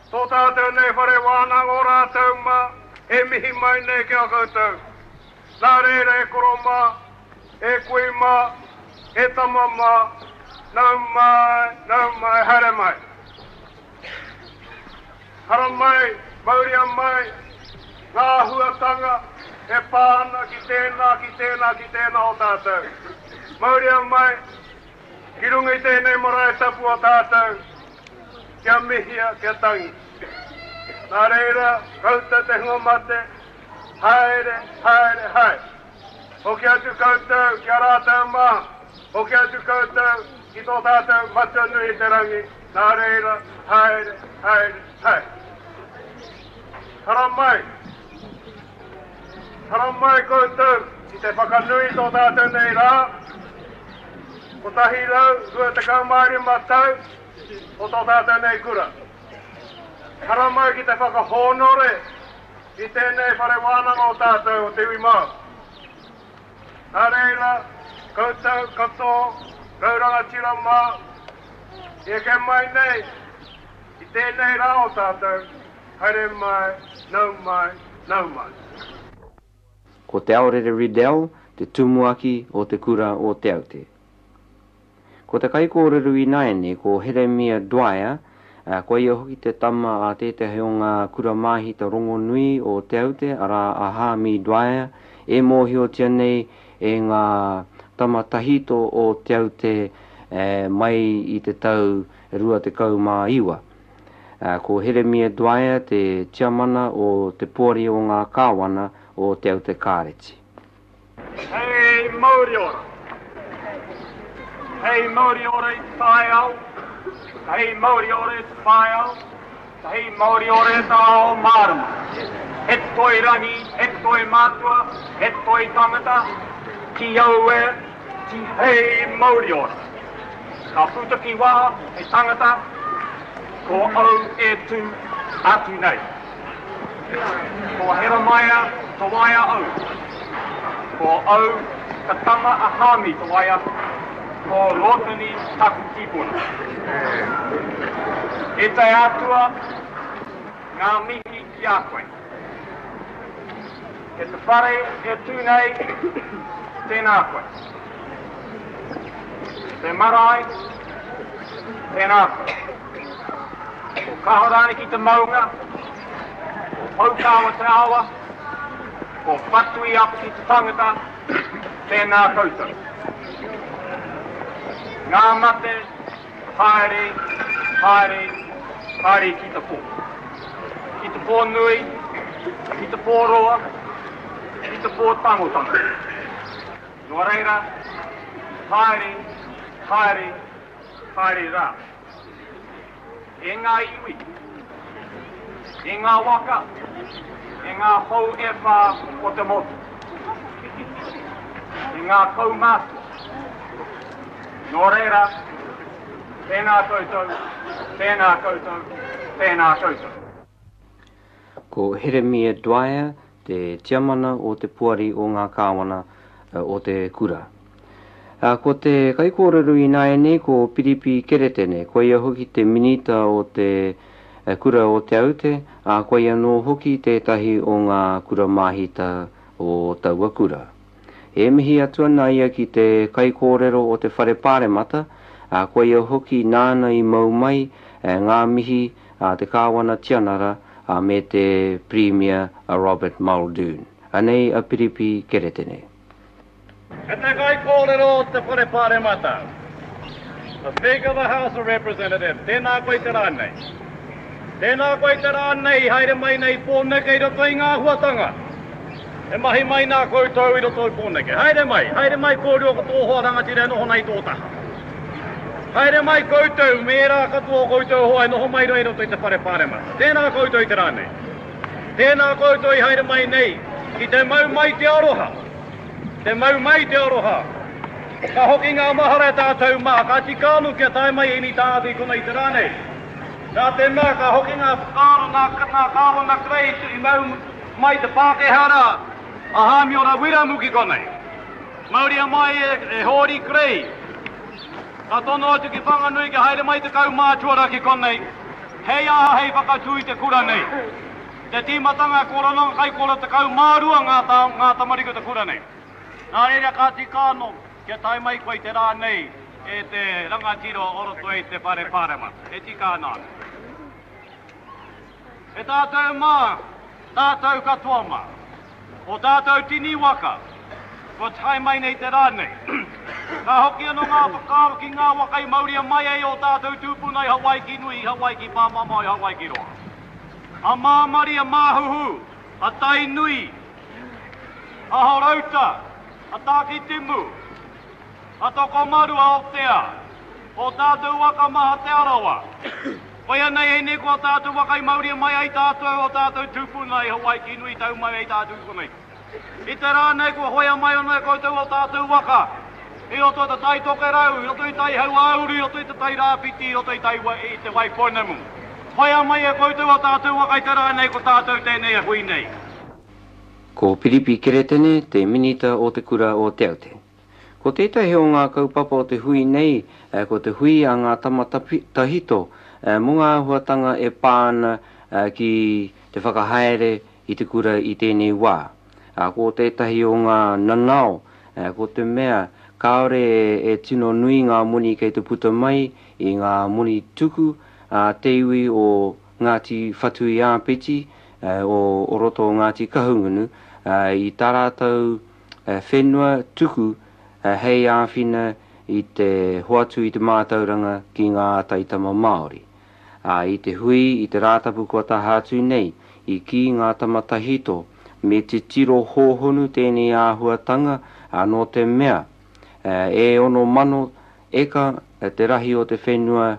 Tō tātou nei whare wānanga o rātou mā e mihi mai nei ki a koutou. Nā reira e koro mā, e kui mā, e tama mā, nau mai, nau mai, haere mai. Haramai, mauria mai ngā āhuatanga e pā ana ki tēnā, ki tēnā, ki tēnā o tātou. Mauria mai ki runga i tēnei marae tapu o tātou, kia mihia, kia tangi. Nā reira, koutou te hunga mate, haere, haere, haere. Hoki atu koutou ki a rātou mā, hoki atu koutou ki tō tātou Matua nui i te rangi, nā reira, haere, haere, haere. Haramai, haramai koutou ki te whakanui i tō tātou nei rā, 125 tau o tō tātou nei kura. Haramai ki te whakahōnore i tēnei whare wānanga o tātou o te iwi Māori. Nā reira, koutou katoa, rau rangatira mā, i eke mai nei i tēnei rā o tātou, haere mai, nau mai, nau mai. Ko Te Aorere Riddell te tumuaki o Te Kura o Te Aute. Ko te kaikōrero ināianei ko Heremia Dwyer, ā, ko ia hoki te tama a tētahi o ngā kura māhita rongonui o Te Aute, arā a Hāmi Dwyer, e mōhiotia nei e ngā tama tahito o Te Aute mai i te tau 29. Ko Heremia Dwyer te tiamana o te Poari o ngā Kāwana o Te Aute Kāreti. Hei mauri ora. Hei mauri ora i te taiao, hei mauri ora i te whaiao, hei mauri ora i te ao mārama. He toi rangi, he toi mātua, he toi tangata, ki au e, tihei mauri ora. Ka puta ki waho he tangata, ko au e tū atu nei. Ko Heremaia Tawaia au. Ko au ka tama a Hami Tawaia, ko Rotani taku tipuna. E te Atua, ngā mihi ki a koe. E te whare e tū nei, tēnā koe. Te marae, tēnā koe. Ko Kahoraniki te maunga, ko Poukawa te awa, ko Whatuiapiti te tangata, tēnā koutou. Ngā mate, haere, haere, haere ki te pō. Ki te pō nui, ki te pō roa, ki te pō tangotango. Nō reira, haere, haere, haere rā. E ngā iwi, e ngā waka, e ngā hou e whā o te motu, e ngā kaumātua. Nō reira, tēnā koutou, tēnā koutou, tēnā koutou. Ko Heremia Dwyer te tiamana o te Poari o ngā Kāwana o te kura. Ko te kaikōrero ināianei ko Piripi Keretene, koia hoki te minita o te Kura o Te Aute, ā, koia anō hoki tētahi o ngā kura māhita o taua kura. E mihi atu ana ia ki te kaikōrero o te Whare Pāremata, ā, koia hoki nāna i mau mai ngā mihi a te Kāwana Tianara ā, me te Pirimia a Robert Muldoon. Anei a Piripi Keretene. E te kaikōrero o te Whare Pāremata, the Speaker of the House of Representatives, tēnā koe te rā nei. Tēnā koe te rā nei i haere mai nei Pōneke i roto i ngā āhuatanga e mahi mai nā koutou i roto i Pōneke. Haere mai, haere mai kōrua ko tō hoa rangatira e noho nei i tō taha. Haere mai koutou me ērā katoa o koutou hoa e noho mai rā i roto i te whare pāremata. Tēnā koutou i te rā nei. Tēnā koutou i haere mai nei ki te mau mai te aroha. Te mau mai te aroha. Ka hoki ngā mahara e tātou mā, ka tika anō kia tae mai ēnei tāngata i konei i te rā nei. Nā te mea ka hoki ngā whakaaro nā, nā Kāwana Kerei i mau mai te Pākehā rā, a Hāmiora Wiremu ki konei. Mauria mai e Hōri Kerei. Ka tono atu ki Whanganui kia haere mai te kaumātua rā ki konei. Hei aha hei whakatū i te kura nei? Te tīmatanga e kōrero ana kai kōrero 12 ngā ngā tamariki o te kura nei. Nā reira ka tika anō kia tae mai koe i te rā nei e te rangatira o roto i te whare pāremata. E tika ana anō. E tātou mā, tātou katoa mā, o tātou tini waka, kua tae mai nei te rā nei. Ka hoki anō ngā whakaaro ki ngā waka i mauria mai ai ō tātou tūpuna i Hawaiki nui, i Hawaiki pāmamao, i Hawaiki roa. A Māmari, a Māhuhu, a Tainui, a Horouta, a Tākitimu, a Tokomaru, a Aotea, ō tātou waka maha Te Arawa. Koia nei ēnei ko ō tātou waka i mauria mai ai tātou, ō tātou tūpuna i Hawaiki nui tau mai ai tātou i konei. I te rā nei kua hoea mai anō e koutou ō tātou waka i roto i te Tai Tokerau, i roto i Tai Hauāuru, i roto i te Tai Rāwhiti, i roto i, tai, i te Waipounamu. Hoea mai e koutou ō tātou waka i te rā nei ko tātou tēnei e hui nei. Ko Piripi Keretene te minita o te kura o Te Aute. Ko tētahi o ngā kaupapa o te hui nei ko te hui a ngā tama tahito mō ngā āhuatanga e pā ana ki te whakahaere i te kura i tēnei wā. Ko tētahi o ngā nanao ko te mea kāore e tino nui ngā moni kei te puta mai i ngā moni tuku a te iwi o Ngāti Whatuiāpiti o roto o Ngāti Kahungunu i tā rātou whenua tuku hei āwhina i te hoatu i te mātauranga ki ngā taitama Māori. Ā, i te hui i te Rātapu kua taha atu nei, i kī ngā tama tahito, me titiro hōhonu tēnei āhuatanga, ā, nō te mea, e 6,000 eka te rahi o te whenua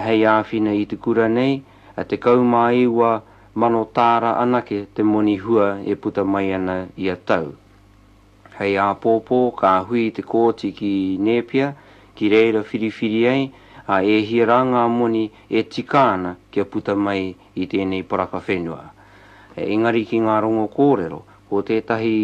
hei āwhina i te kura nei, 19,000 tāra anake te moni hua e puta mai ana ia tau. Hei āpōpō ka hui te kōti ki Nēpia, ki reira whiriwhiri ai, ā, e hia rā ngā moni e tika ana kia puta mai i tēnei poraka whenua. Engari ki ngā rongo kōrero, ko tētahi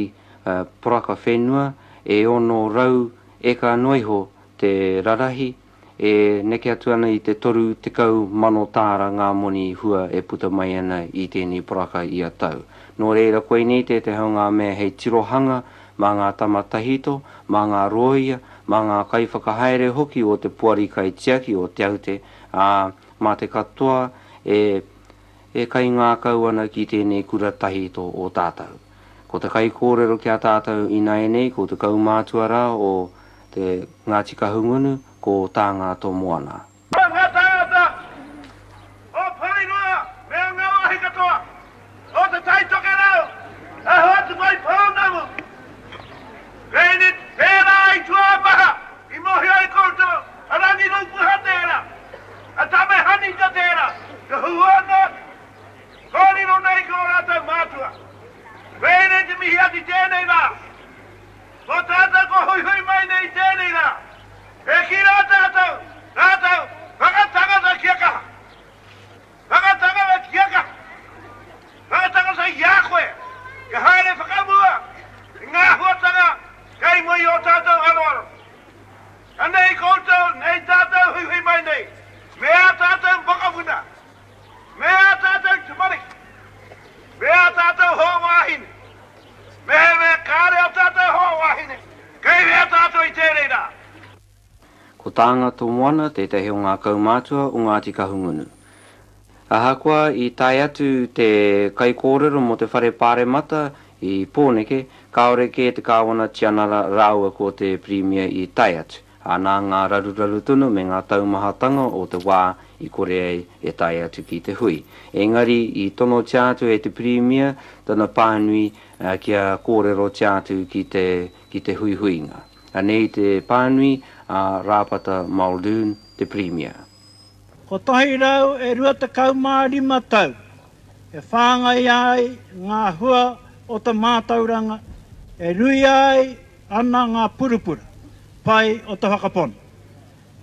poraka whenua e 600 eka noa iho te rarahi, e neke atu ana i te 30,000 tāra ngā moni hua e puta mai ana i tēnei poraka ia tau. Nō reira, koinei tētehi o ngā mea hei tirohanga mā ngā tama tahito, mā ngā rōia, mā ngā kaiwhakahaere hoki o te Poari Kaitiaki o Te Aute, ā, mā te katoa e e kaingākau ana ki tēnei kura tahito o tātou. Ko te kaikōrero ki a tātou ināianei ko te kaumātua rā o te Ngāti Kahungunu, ko Tāngatomoana. Ko ngā tāngata o Porirua me ngā wāhi katoa o Te Tai Tokerau e hoatu mai pounamu. Pēni tērā i tua maha i mōhio ai koutou a Rangi Rūpuha tērā, a Tame Hanita tērā, ka huhua noa atu, kōrero nei ki ō rātou mātua. Pēnei te mihi atu i tēnei rā. Ko tātou kua huihui mai nei i tēnei rā, e kī rā tātou, rātou, whakatangata kia kaha. Whakatangata kia kaha. Whakatangata i a koe, kia haere whakamua i ngā āhuatanga kei mua i ō tātou aroaro. Anei koutou, nei tātou huihui mai nei, me ā tātou mokopuna, me ā tātou tamariki, me ā tātou hoa wāhine, Mehemea kāre ō tātou hoa wāhine, kei hea tātou i tēnei rā? Ko Tāngatomoana tētahi o ngā kaumātua o Ngāti Kahungunu. Ahakoa i tae atu te kaikōrero mō te Whare Pāremata i Pōneke, kāore kē te Kāwana Tianara rāua ko te Pirimia i tae atu. Ā, nā ngā raruraru tonu me ngā taumahatanga o te wā i kore ai e tae atu ki te hui. Engari i tonotia atu e te Pirimia tana pānui kia kōrerotia atu ki te, ki te huihuinga. Anei te pānui a Rāpata Muldoon, te Pirimia. 125 tau e whāngaia ai ngā hua o te mātauranga e ruia ai ana ngā purapura pai o te whakapono.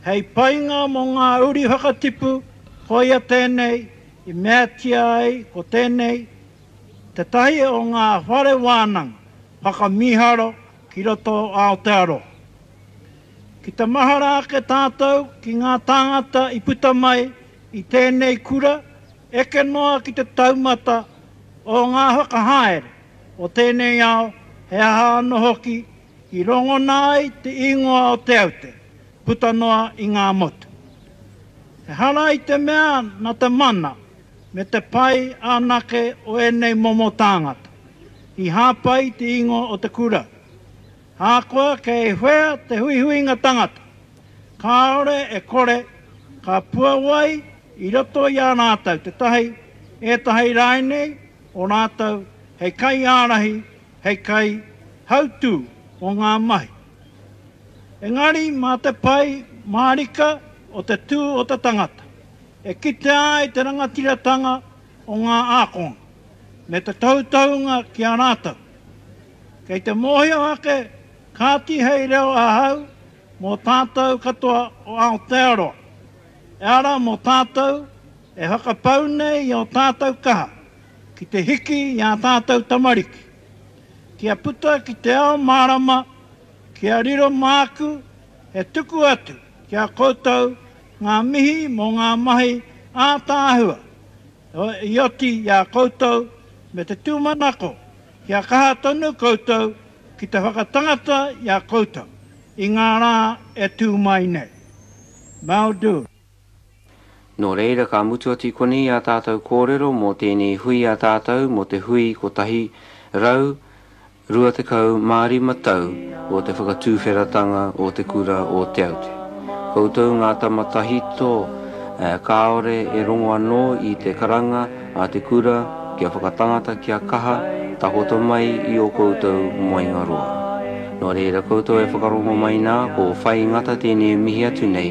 Hei painga mō ngā uri whakatipu koia tēnei i meatia ai ko tēnei tētahi o ngā whare wānanga whakamīharo ki roto o Aotearoa. Ki te mahara ake tātou ki ngā tāngata i puta mai. i tēnei kura eke noa ki te taumata o ngā whakahaere o tēnei ao he aha anō hoki i rongona ai te ingoa o Te Aute puta noa i ngā motu. Ehara i te mea nā te mana me te pai anake o ēnei momo tāngata i hāpai i te ingoa o te kura. Ahakoa kei whea te huihuinga tangata, kāore e kore ka puawai i roto i a rātou tētahi, ētahi rāinei o rātou hei kaiārahi, hei kaihautū o ngā mahi. Engari mā te pai mārika o te tū o te tangata e kitea ai te rangatiratanga o ngā ākonga me te tohutohunga ki a rātou. Kei te mōhio ake kāti hei reo ahau mō tātou katoa o Aotearoa, e ara mō tātou e whakapau nei i ō tātou kaha ki te hiki i ā tātou tamariki, kia puta ki te ao mārama, kia riro māku e tuku atu ki a koutou ngā mihi mō ngā mahi ātaahua i oti i a koutou me te tūmanako kia kaha tonu koutou ki te whakatangata i a koutou i ngā rā e tū mai nei. Maudu. Nō reira ka mutu atu i konei ā tātou kōrero mō tēnei hui a tātou mō te hui 125 tau o te whakatūwheratanga o te kura o Te Aute. Koutou ngā tama tahito kāore e rongo anō i te karanga a te kura kia whakatangata kia kaha takoto mai i ō koutou moenga roa. Nō reira koutou e whakarongo mai nā ko Whai Ngata tēnei e mihi atu nei.